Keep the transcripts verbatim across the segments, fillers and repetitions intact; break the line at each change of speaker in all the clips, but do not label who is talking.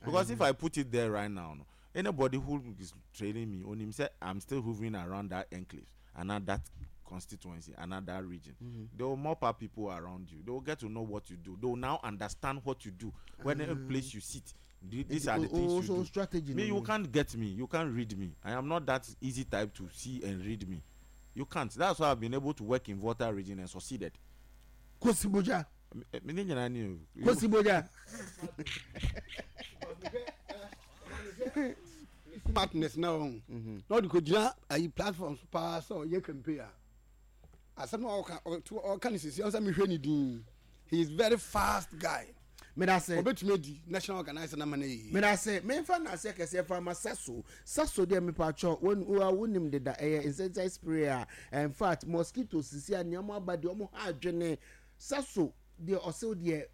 Because if I put it there right now no, anybody who is trailing me onim sɛ I'm still hovering around that enclave and that constituency and that region. Mm-hmm. They will mop up people around you. They will get to know what you do. They will now understand what you do. When mm. any place you sit, these are the things you do.
Strategy.
Me, you can't get me. You can't read me. I am not that easy type to see and read me. You can't. That's why I've been able to work in Volta Region and succeeded.
Kosi Boja.
Me ne nyinaa ni o.
Kosi Boja.
Smartness na wɔn na ɔde kɔ gyina ayi platform so paa sɛ ɔyɛ campaign a, asɛm na ɔka ɔka ne sisi ɔsɛ mehwɛ ne din, he is very fast guy.
Medase.
Ɔbɛtumi adi national organizer na ma no yie.
Medase. Memfa nase kɛseɛ fa ma Saso. Saso deɛ, mepatwɔ wonim deda, ɛyɛ insecticide spray a in fact mosquito sisi a nneɛma aba deɛ, ɔmo ha adwene. Saso deɛ, ɔsew deɛ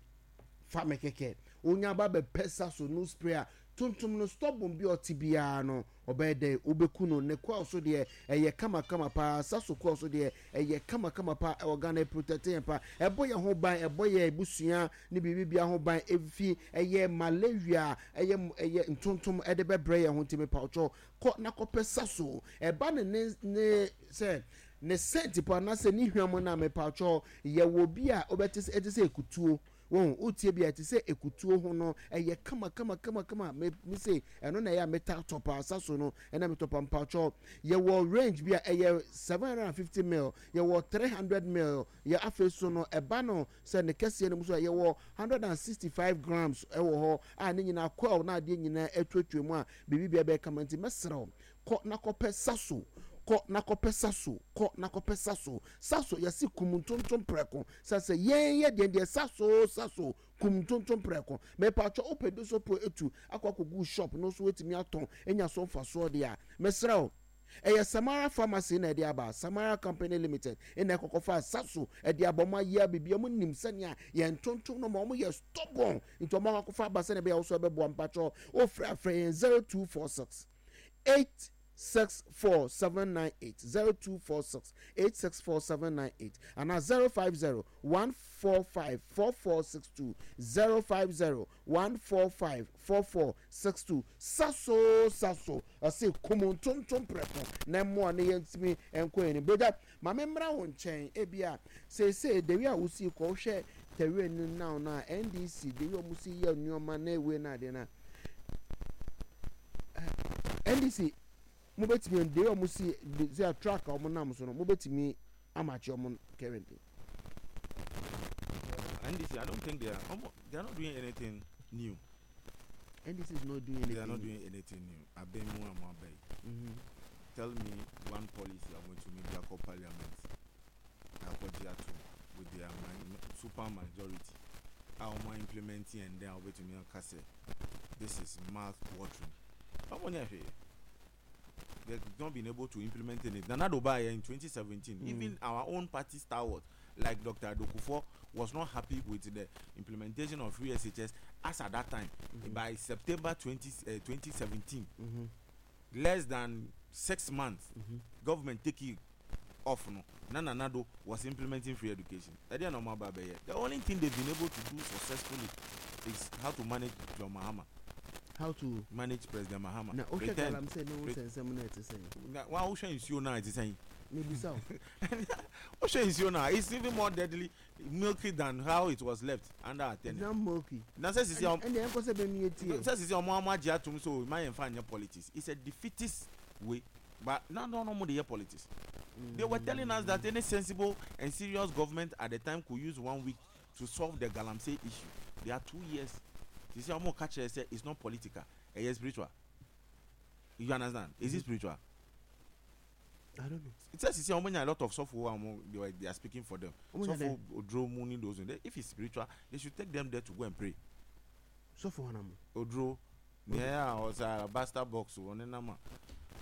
fa me kɛkɛ onya ba bɛpɛ Saso no spray a tuntum no, stubborn bi a ɔte biara no, ɔbɛyɛ dɛ wobɛku no. Ne coil so deɛ, ɛyɛ kamakama paa. Saso coil so deɛ, ɛyɛ kamakama paa. Ɛwɔ Ghana, protect yɛn pa, ɛbɔ yɛn ho ban, ɛbɔ yɛn ebusua ne biribi bia ho ban efi ɛyɛ malaria, ɛyɛ ɛyɛ ntontom ɛde bɛbrɛ yɛn ho. Ntumi pawtwɔ kɔ na kɔpɛ Saso. Ɛba ne ne ne sɛ ne scent po anaasɛ ne hwam no a, mepawtwɔ yɛwɔ bi a wobɛte sɛ ɛte sɛ ekutuo wɔn wotie bi a ɛte sɛ ekutuo ho no, ɛyɛ kama kama kama kama. Me me se ɛno na ɛyɛ a meta tɔ paa. Saso no ɛna metɔ pa. Mpatwɔ yɛwɔ range bi a ɛyɛ seven hundred and fifty mil, yɛwɔ three hundred mil. Yɛ afei so no, ɛba no sɛ ne kɛseɛ no mu so a, yɛwɔ hundred and sixty five grams ɛwɔ hɔ a ne nyinaa coil na adeɛ nyinaa atuatua mu a biribi bia bɛyɛ kama. Nti mɛsrɛw, kɔ na kɔpɛ Saso, kɔ na kɔpɛ Saso, kɔ na kɔpɛ Saso. Saso yɛsi kum ntontom prɛko sɛ sɛ yɛn yɛ deɛ deɛ Saso, Saso kum ntontom prɛko. Mɛpatwɔ wopɛ bi so po etu akɔ akɔgu shop no so, etumi atɔn enya so mfasoɔ deɛ a, mɛsrɛw, ɛyɛ Samara Pharmacy na ɛde aba. Samara Company Limited ɛna ɛkɔkɔfa Saso ɛde aba. Ɔmo ayɛ bibi, ɔmo nim sɛnea yɛn ntontom no ma ɔmo yɛ stubborn, nti ɔmo akɔkɔfa aba sɛnea ɛbɛyɛ ɔso ɛbɛboa. Mpatwɔ ofrɛ afrɛ yɛn zero two four six eight six four seven nine eight, zero two four six eight six four seven nine eight, ana zero five zero one four five four four six two, zero five zero one four five four four six two. Saso, Saso ɔse kum ntontom prɛko na mmoa ne yɛntumi nkɔ yɛn ni. Bogya maame mmra wo nkyɛn. Ebi a seesei dewi a wosi kɔ wohwɛ terrain no now no a, N D C dewi a wɔn si yɛ nneɛma na ewe na adeɛ na N D C mobɛtumi dewi a wɔn si de a track a wɔn nam so no, mobɛtumi amakye wɔn currently?
N D C, I don't think they are. They are not doing anything new.
N D C is not doing anything.
They are not doing anything new. Abemu Amabe.
Mm-hmm.
Tell me one policy I want to maybe I call parliament. Akɔgye ato with their super majority a wɔn implementing and then wɔbɛtumi aka sɛ this is mouth watering. Wɔn nyɛ hwee. They've not been able to implement it. Nana Addo in twenty seventeen, mm. even our own party stalwart like Doctor Dokufor was not happy with the implementation of free S H S as at that time. Mm-hmm. By September twenty, uh, twenty seventeen,
mm-hmm.
less than six months,
mm-hmm.
government take it off no. Nana Addo was implementing free education. The only thing they've been able to do successfully is how to manage John Mahama.
How to
manage President Mahama.
Na wohwɛ galamsey ne wo nsɛnsɛm no, ɛte sɛn?
Na wa wohwɛ nsuo no a, ɛte sɛn?
Mebisa wo.
Wohwɛ nsuo no a, it's even more deadly milky than how it was left under our
tenure. It's not milky.
Na sɛ sisi
ɔmo ɛnna ɛnkɔ sɛ bɛmi etie.
Sɛ sisi ɔmo ɔmo agye atum so ma yɛn fa nyɛ politics. It's a defeatist way, but na no no mo de yɛ politics. Mm. They were telling us that any sensible and serious government at the time could use one week to solve the galamsey issue. They are two years. Sisi ɔmo ka kyerɛ sɛ it's not political, ɛyɛ spiritual. You understand? Is it spiritual?
I don't know.
Sɛ sisi ɔmo nya a lot of sɔfo a ɔmo they were they are speaking for them. Sɔfo Oduro mu ni those. If it's spiritual, they should take them there to go and pray.
Sɔfo hɔn amu.
Oduro nea a ɔsɛ alabaster box wɔ ne nam a.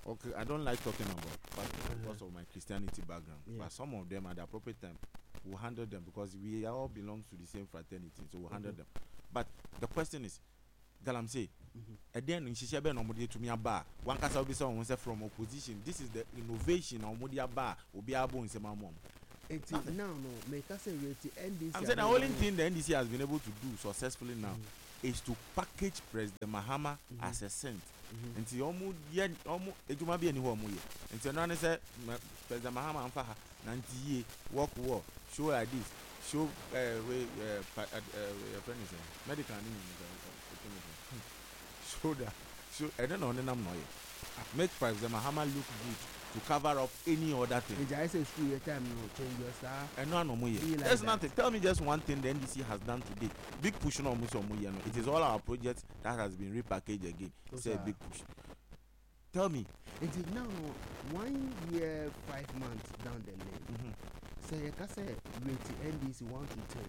Okay, I don't like talking about pastors because of my Christianity background.
Yeah.
But some of them, at the appropriate time, will handle them because we all belong to the same fraternity, so we'll handle
Okay.
them. But the question is, galamsey, ɛdɛn no nhyehyɛ bɛn na wɔde atumi aba a wankasa obi sɛ wɔn sɛ from opposition, this is the innovation na wɔde aba a obiara bɔ nsɛm ama wɔn?
Nti now no, meka sɛ wie ti N D C.
I'm saying the only thing the N D C has been able to do successfully now is to package President Mahama mm -hmm. as a saint. Nti ɔmo yɛ ɔmo edwuma bi ɛni hɔ ɔmo yɛ, nti ɛno ani sɛ President Mahama nfa ha na nti yie, work well, show like this, show ɛɛ wey ɛɛ pa ɛɛ yɛfrɛ ne sɛ medical ne nyina, show that, show. Ɛno na ɔnenam na ɔyɛ make President Mahama look good to cover up any other thing.
Nti ayɛ sɛ school yɛ time no, change your star.
Ɛno ano ɔmo yɛ.
Be like
There's
that.
nothing. Tell me just one thing the N D C has done today. Big Push no, ɔmo sɛ ɔmo yɛ no, it is all our projects that has been repackaged again.
Oh,
Say
sir.
Big Push, tell me.
Nti now no, one year five months down the lane,
mm -hmm.
sɛ yɛka sɛ rate N D C one to ten.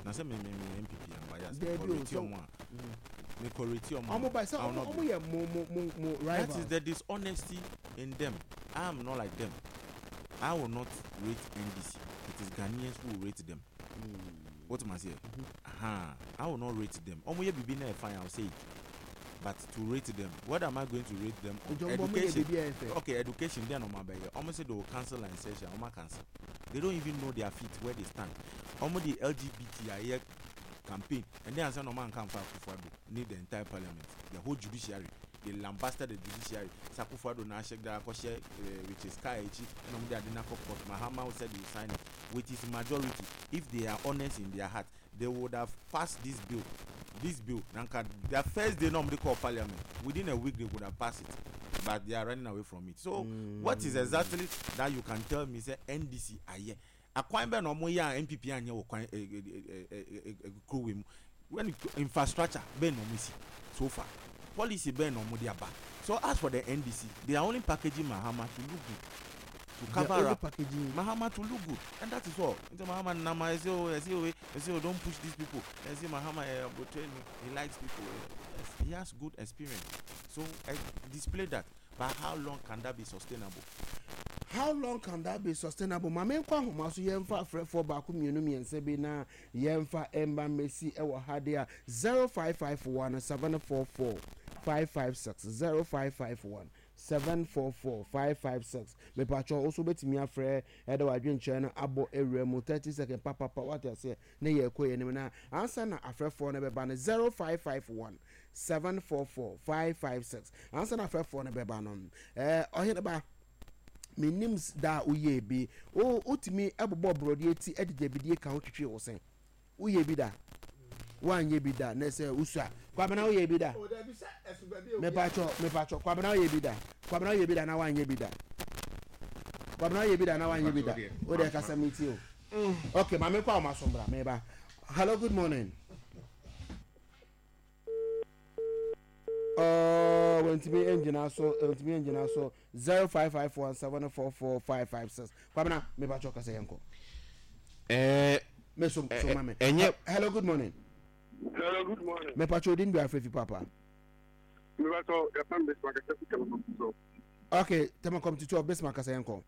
Na sɛ me me me N P P am bias.
Dabi o,
me kɔ rate
so-
ɔmo a, me kɔ rate ɔmo a,
Ɔmo ba sɛ
I will
ɔmo
not
ɔmo
be.
yɛ mo mo mo mo
That
rivals.
is the dishonesty in them. I am not like them. I will not rate N D C. It is Ghanaians who will rate them.
Mm.
What am I saying? Aha, I will not rate them. Ɔmo yɛ bibi na ɛ fine, I will say it, but to rate them, what am I going to rate them on?
Nti ɔmo ɔmo yɛ
Education.
bibi a ɛfɛ.
Okay, education deɛ na ɔmo abɛyɛ? Ɔmo say they will cancel licensure. Ɔmo cancel, they don't even know their feet, where they stand. Ɔmo de L G B T ayɛ campaign and then ansa na ɔmo anka nfa Akufo-Addo need the entire parliament, the whole judiciary. They lambasted the judiciary sɛ Akufo-Addo na ahyɛ da akɔhyɛ uh, which is car akyi ɛna ɔmo de ade na akɔ court. Mahama said he will sign it with his majority. If they are honest in their heart, they would have passed this bill this bill na nka their first day na ɔmo de call parliament. Within a week they would have passed it, but they are running away from it. So mm. what is exactly that you can tell me say N D C ayɛ? Akwan bɛɛ na ɔmo yɛ a N P P anyɛ wɔ kwan ɛ ɛ ɛ ɛ ɛ kuro wei mu? When it, infrastructure bɛɛ na ɔmo si so far? Policy bɛɛ na ɔmo de aba? So as for the N D C, they are only packaging Mahama to look good, to
They are
cover
only
up
packaging.
Mahama to look good, and that is all. Nti Mahama nama ɛsɛ o, ɛsɛ o, ɛsɛ o, don't push these people. Ɛsɛ Mahama ɛ abotire ni, he likes people. Yes, he has good experience, so uh, display that, but how long can that be sustainable?
How long can that be sustainable? Maame, nkɔ ahoma so, yɛmfa afrɛfoɔ baako, mmienu, mmiɛnsa bi na yɛmfa ɛmba mmɛsi ɛwɔ ha de a zero five five one seven four four five five six, zero five five one seven four four five five six. Mepatwɔ nso bɛtumi afrɛ ɛde wadwenkyerɛ no abɔ ewura mu thirty second papapa, wate aseɛ, ne yɛ ɛkɔ yɛn anim. Na ansa na afrɛfoɔ no bɛba no, zero five five one seven four four five five six. Ansa na afrɛfoɔ no bɛba no, ɛɛ ɔhene ba, menim da a woyɛ bi wo wotumi ɛbobɔ borɔdeɛ ti ɛde gyabidie ka ho twitwi wo sɛn. Woyɛ bi da? Woanyɛ bi da na sɛ wosua. Kwabena, woyɛ bi da? Mepatwɔ, mepatwɔ, Kwabena, woyɛ bi da? Kwabena, woyɛ bi da na woanyɛ bi da? Kwabena, woyɛ bi da na woanyɛ bi da? Wode kasa mi ti o. Ok, maame, kɔ a wɔn aso mbra meba. Hello, good morning. Uh, wɔntumi ngyina so, wɔntumi ngyina so. Zero five five one seven four four five five six. Kwabena, mepatwɔ, kasa, yɛn kɔ.
ɛɛ
Me so so ma me.
Ɛnyɛ-
Hello, good morning.
Hello, good morning.
Mepatwɔ, odin bi afrɛ fi papa?
Mepatɔ, yɛfrɛ me Bismarck Kasa so.
Ok, Tema Community twelve, Bismarck, kasa, yɛn kɔ.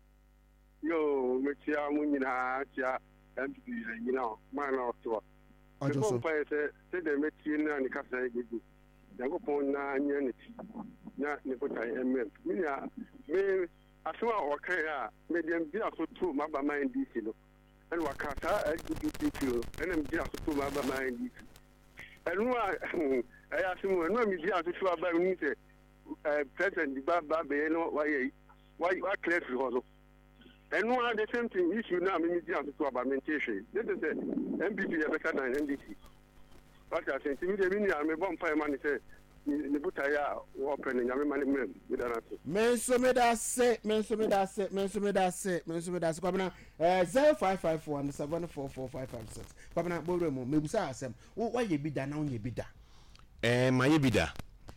Yo, mekyia mo nyinaa, kyia N P P nyina hɔ, maa na ɔte hɔ.
Ɔgye
Mebɔ
so.
mpaeɛ sɛ sɛdeɛ mɛtie no a ne kasa yɛ gugu. Nyankopɔn na nyɛ ne ti na ne botae mmɛm. Me nua, me asɛm a ɔkae a medeɛ megyina so to m'aba ma N D C no, ɛna waka saa L G B T Q no, ɛna megyina so to m'aba ma N D C. Ɛno a ɛyɛ asɛm o, ɛno a megyina so to aba mu sɛ ɛɛ president ba ba bɛyɛ no wayɛ wakilɛ firi hɔ no, ɛno a the same thing issue na mi gyina so to aba mi nte hwee ne te sɛ N P P yɛ better than N D C. Wate ase? Nti mi deɛ, mi nua, mi bɔ mpa ma ne sɛ ne botaeɛ a wɔpɛ no, Nyame ma ne mmerɛ mu. Meda no ase.
Me nso meda ase, me nso meda ase, me nso meda ase, me nso meda ase. Kwabena, ɛɛ zero five five one seven four four five five six. Kwabena, bɔwura mu, mebusa asɛm, wo wayɛ bi da na wonyɛ bi da?
ɛɛ mayɛ bi da.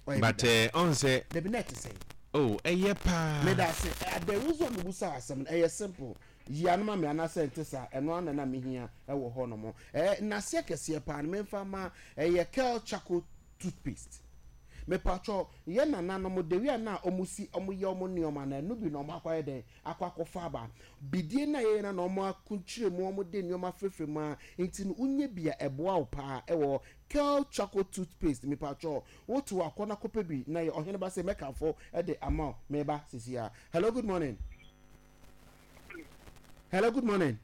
Wayɛ bi
but
da.
ɛɛ ɔn sɛ
Dabi, na ɛte sɛn?
Oh, ɛyɛ paa.
Meda ase. Ɛ the reason mebusa asɛm no ɛyɛ simple. Yi anoma mi anaasɛ nte saa, ɛno ana na mehia ɛwɔ hɔ nom. Ɛɛ nnaseɛ kɛseɛ paa no memfa ma ɛyɛ Kel Charcoal toothpaste. Mepatwɔ, yɛ nananom dewi a na ɔmo si ɔmo yɛ ɔmo nneɛma na ɛno bi na ɔmo akɔyɛ dɛn akɔ akɔfa aba bidie na yɛyɛ na na ɔmo akunkyire mu, ɔmo de nneɛma firifiri mu a, nti no wonye bi a ɛboa wo paa. Ɛwɔ Kel Charcoal toothpaste. Mepatwɔ, woto akɔ na kɔpɛ bi na yɛ ɔhene ba sɛ mɛkanfo ɛde ama wo. Meba sisi a. Hello, good morning. Hello, good morning.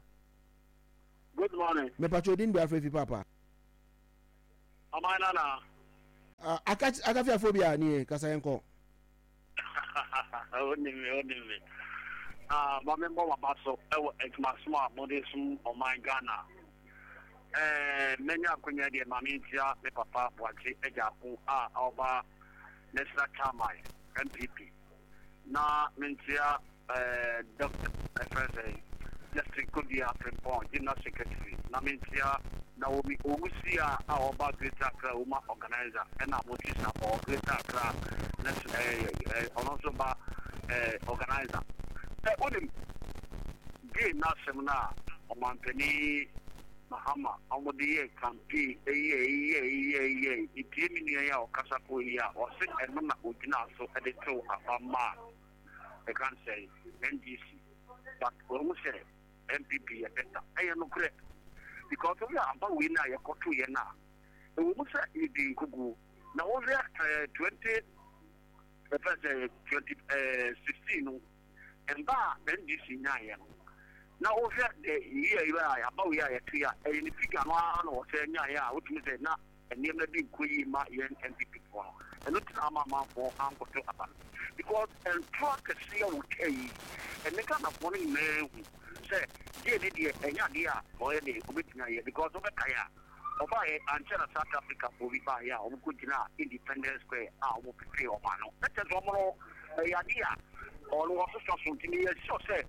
Good morning.
Mepatwɔ, odin bi afrɛ fi papa?
Ɔman nana.
Uh, Akafiafo bi a nie kasa yɛn kɔ.
Onim me, onim me. Ah, ma me mbɔ waba so ɛwɔ adwumasom a mode som ɔman Ghana. Ɛɛ, mɛnya akonya deɛ, ma me ntia me papa Boakye Agyarko a ɔba National Chairman N P P, na mentia ɛɛ Doctor ɛfrɛ sɛ Justin Kodua Frimpong, General Secretary, na mentia Naomi Owusia a ɔba Greater Accra Woman Organizer, ɛna Motwi Sapɔ, Greater Accra ɛɛ ɛɛ ɔno nso ba ɛɛ organizer. Ɛ onim gay n'asɛm no a ɔmampanin Mahama ɔmode yɛ campaign, ɛyɛ ɛyɛ ɛyɛ ɛyɛ etie. Mi nua yi a ɔkasa kɔ yi a ɔse ɛno na ogyina so ɛde tew aba maa ɛka sɛ N D C, but wɔn sɛ N P P yɛ better. Ɛyɛ nokorɛ, because wɔn a aba wei na yɛkɔto yɛn a ɛwɔ mu sɛ yɛdi nkuguo na wɔhwɛ ɛɛ twenty ɛfɛ sɛ twenty ɛɛ sixteen no mba a N D C nyaayɛ no, na wohwɛ de yie yi a aba wei a yɛto yi a, ɛyɛ ne figure no ara na wɔsɛ nyaayɛ a wotumi sɛ na nneɛma bi nkɔ yie ma yɛn N P P foɔ no. Ɛno tena ama amanfoɔ ankɔto aba no, because ntoa kɛseɛ a wɔtwa yi, ɛne Ghanafoɔ no nyinaa hu sɛ gye ne deɛ ɛnyɛ adeɛ a ɔyɛ de obɛtumi ayɛ, because wobɛkae a ɔbaayɛ ankyɛ na South Africa foɔ bi baayɛ a wɔn kɔ gyina Independence Square a wɔn pepee wɔn ano, ɛkyɛ sɛ wɔn no ɛyɛ adeɛ a ɔno wɔsosɔ so. Nti meyɛ sure sɛ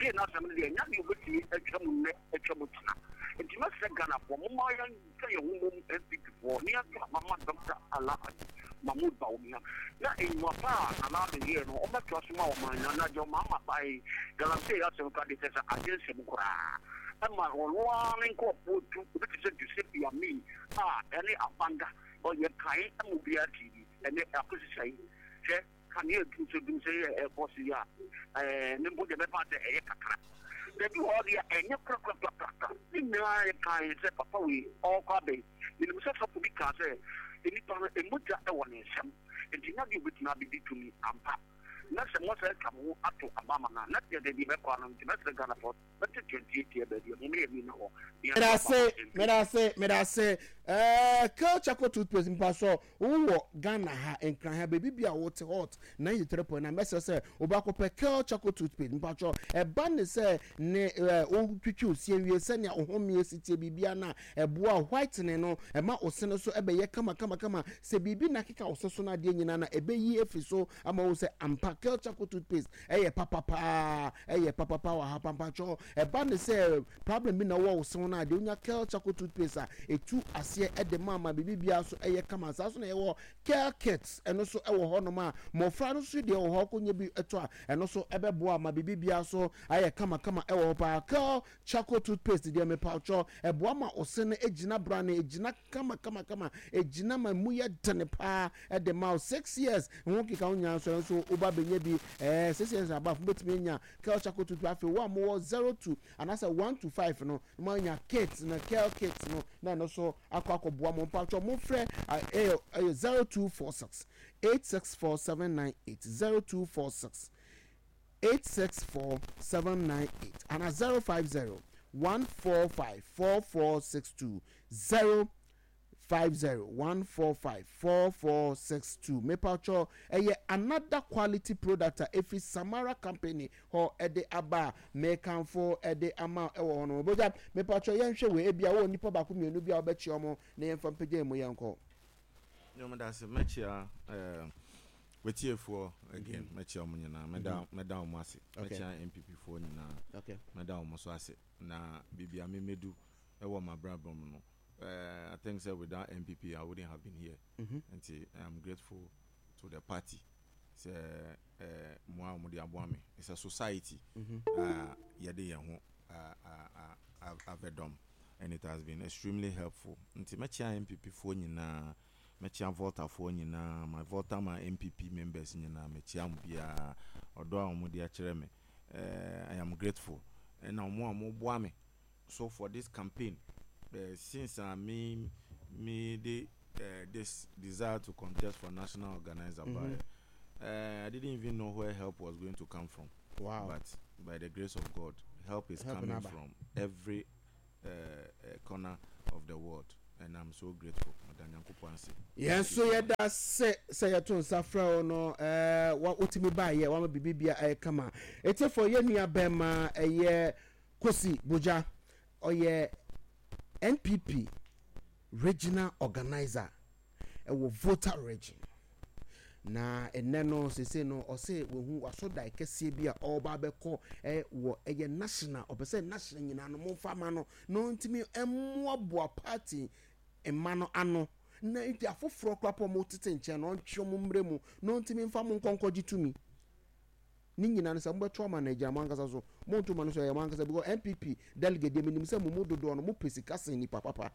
gye n'asɛm no deɛ, ɛnyɛ adeɛ obɛtumi atwa mu nnɛ atwa mu tena. Nti mɛsrɛ Ghanafoɔ, momma yɛnka yɛn ho mmom, N P P foɔ, ne yɛnto aba ma Doctor Alhaji Mahmood Bawumia, na enyuma pa a Nana Addo yɛɛ no, ɔmmɛtoa so ma ɔman na na deɛ ɔmaama bae galamsey asɛm ka de kyɛ sɛ agye nsɛm koraa ɛma ɔno ara ne nkɔɔfoɔ tu obi te sɛ Joseph Yami a ɛne Abanga ɔyɛ kan ma obiara ti bi ɛne akosisa yi. Hwɛ kanea dumsɛ dumsɛ yɛ ɛkɔ so yi a, ɛɛ ne mpo deɛ bɛfa sɛ ɛyɛ kakra baabi wɔ hɔ deɛ, ɛnyɛ korakorakorakora. Ne nyinaa yɛ kan sɛ papa wei ɔrekɔ abɛn. Menim sɛ sɔfo bi kaa sɛ nnipa no emogya ɛwɔ ne nsam, nti na deɛ obɛtumi abɛdi tumi ampa na sɛ mo sɛ atwa mo ho ato abama no a, na deɛ deɛ bɛkɔ ano. Nti mɛsrɛ Ghanafoɔ, bɛte twenty eight yɛ baabi a mo meyɛ mi na hɔ.
Medase, medase, medase. ɛɛ Kel Charcoal toothpaste mpa so wowɔ Ghana ha, Nkran ha, beebi bi a wote Hot ninety three point nine, mɛsɛ sɛ wobɛakɔpɛ Kel Charcoal toothpaste. Mpatwɔ, ɛba ne sɛ ne ɛɛ wotwitwi osie wie sɛnea ohomie si tie biribia no a, ɛboa whitening no, ɛma ose no so ɛbɛyɛ kama kama kama. Sɛ biribi na akeka ose so no adeɛ nyinaa na ɛbɛyi efiri so ama wo sɛ ampa Kel Charcoal toothpaste ɛyɛ papapaa, ɛyɛ papapa wɔ ha. Pampatwɔ, ɛba ne sɛ problem bi na wɔ wo se no adeɛ, wonya Kel Charcoal toothpaste a, ɛtu aseɛ ɛde ma ama biribi biara so ɛyɛ kama. Saa so na yɛwɔ Kel Kits, ɛno so ɛwɔ hɔnom a mmɔfra no so deɛ wɔ hɔ kɔnya bi ɛtɔ a, ɛno so ɛbɛboa ama biribi biara so ayɛ kamakama ɛwɔ hɔ paa. Kel Charcoal toothpaste deɛ, mepawkyɛ, ɛboa ma ɔse no egyina brane, egyina kama kama kama, egyina ma mu yɛ dene paa. Ɛde ma wo six years ho keka ho nyinaa nso, ɛnso woba bɛnya bi ɛɛ six years above, wobɛtumi anya Kel Charcoal toothpaste. Afei wo a mowɔ zero to anaasɛ one to five no, mo anya kit na Kel Kit no na ɛno so akɔ akɔboa mo. Mpatwɔ, mofrɛ ɛyɛ ɛyɛ zero two four six eight six four seven nine eight, zero two four six eight six four seven nine eight, ana zero five zero one four five four four six two, zero five zero one four five four four six two. Mepatwɔ, ɛyɛ another quality product a efi Samara Company hɔ ɛde aba a mekanfo ɛde ama ɛwɔ hɔ no. Bogya, mepatwɔ, yɛnhwɛ wei. Ebi a wɔwɔ nipa baako mmienu bi a wɔbɛkyia wɔn na yɛmfa mpagya mu, yɛnkɔ.
Nyɔm da ase, mɛkyia ɛɛ wetiefoɔ again, mɛkyia wɔn nyinaa, mɛda mɛda wɔn ase.
Okay.
Mɛkyia N P P foɔ nyinaa.
Okay.
Mɛda wɔn so ase na biribi a memedu ɛwɔ m'abrabɔ mu no, ɛɛ I think sɛ without N P P I wouldn't have been here.
Mhm.
Nti I am grateful to the party sɛ ɛɛ mmoa a wɔde aboa me. It's a society
Mhm.
a yɛde yɛn ho a- a- a- avɛdɔm, and it has been extremely helpful. Nti mɛkyia N P P foɔ nyinaa, mɛkyia Voltafoɔ nyinaa, my Volta, my N P P members nyinaa, mɛkyia mo biara. Ɔdɔ a wɔde akyerɛ me, uh, I am grateful. Ɛna wɔn a wɔboa me so for this campaign, uh, since uh, me me de uh, this desire to contest for national organizer mm
Mhm.
by uh, I didn't even know where help was going to come from,
wow
but by the grace of God, help is
Help
coming
naba.
from every uh, uh, corner of the world. And I'm so grateful. Meda Nyankopɔn ase.
Yɛn nso yɛda sɛ sɛ yɛto nsa frɛ wo no, ɛɛ wa wotumi baayɛ wama biribi bia ɛyɛ kama. Etiefo, yɛn nua bɛrima ɛyɛ Kosi Bogya, ɔyɛ N P P regional organizer ɛwɔ Volta Region, na ɛnɛ no sese no ɔsɛ wahu wasɔ dan kɛseɛ bi a ɔreba abɛkɔ ɛ wɔ ɛyɛ national. Ɔpɛ sɛ national nyinaa no momfa ma no na ɔntumi mmoaboa party mma no ano, na nti afoforɔ koraa pɔ ɔmo tete nkyɛn na ɔntwe ɔmo mmerɛ mu na ɔntumi mfa mo nkɔnkɔgye tumi ne nyinaa no. Sɛ mobɛto ama no, agyina mo ankasa so. Monto ma no so, ɛyɛ mo ankasa, because N P P delegate deɛ, menim sɛ mo mu dodoɔ no mopɛ sika sen nipa papa.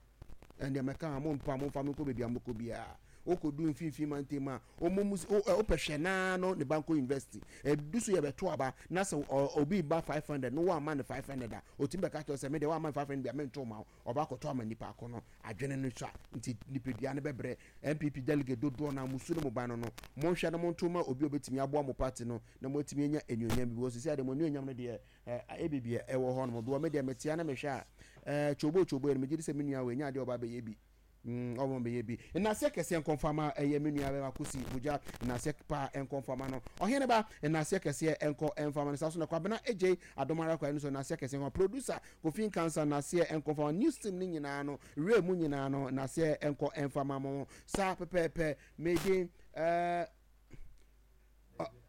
Ɛndeɛ mɛka a mompa momfa me nkɔ baabi a mokɔ biara. Wokɔdu mfimfini mantam a, ɔmo mu wopɛ hwɛ naa no ne banko university ɛdu so, yɛbɛto aba na sɛ obi ba five hundred no, woama no five hundred a, ɔtumi bɛka kyerɛ sɛ medeɛ woama no five hundred bi a, mento ma wo. Ɔba akɔtɔ ama nipa ako no adwene no so a, nti nipadua no bɛbrɛ. N P P delegate dodoɔ no a musu no mo ba no no monhwɛ no, monto ma obi a obɛtumi aboa mo party no na moatumi anya anuonyam bi, because sisi ade mo anuonyam no deɛ, ɛbibia ɛwɔ hɔ nom doɔ. Me deɛ metea na mehwɛ a, ɛɛ twobo twobo yɛ no, megye di sɛ me nua wɔ enya adeɛ ɔba bɛyɛ bi, ɔmo bɛyɛ bi. Nnaseɛ kɛseɛ nkɔmfama ɛyɛ me nua bɛma Kosi Bogya. Nnaseɛ paa nkɔmfama no, ɔhene ba. Nnaseɛ kɛseɛ nkɔ mfama no saa so na Kwabena Egye Adomara kwan no so. Nnaseɛ kɛseɛ nkɔ producer Kofi Nkansa. Nnaseɛ nkɔmfama news team ne nyinaa no, wura mu nyinaa no, nnaseɛ nkɔ mfama mo saa pɛpɛɛpɛ. Mede ɛɛ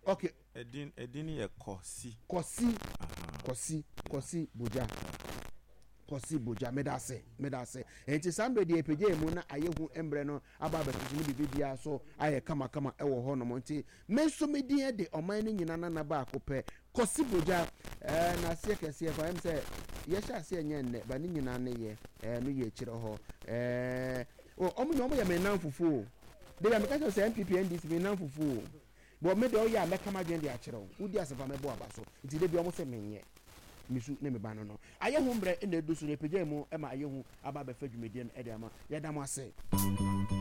okay.
Ɛdin ɛdin yɛ Kɔsi.
Kɔsi, Kɔsi, Kɔsi Bogya, Kɔsi Bogya. Meda ase, meda ase. Nti saa mmerɛ deɛ ɛpagya mu na ayɛ hu mmerɛ no aba abɛtoto no, biribi biara so ayɛ kamakama ɛwɔ hɔ nom. Nti me nso me din de ɔman no nyinaa nana baako pɛ, Kɔsi Bogya. ɛɛ n'aseɛ kɛseɛ fa ɛm sɛ yɛhyɛ aseɛ nyɛ nnɛ ba ne nyinaa ne yɛ ɛɛ no yɛ akyerɛ hɔ. ɛɛ ɔmo nyɛ ɔmo yɛ me nan fufuo o de bi a meka kyerɛ sɛ N P P N D C me nan fufuo o bɔn. Me deɛ, ɔyɛ a mɛka ma dwen de akyerɛ wo, wodi asɛmpa mɛbɔ aba so. Nti de bi ɔmo sɛ menyɛ misu ne me ba no no ayɛ ho mmerɛ ɛna edu so no, epagya mu ɛma ayɛ ho aba abɛfa dwumadie no ɛde ama. Yɛda mo ase.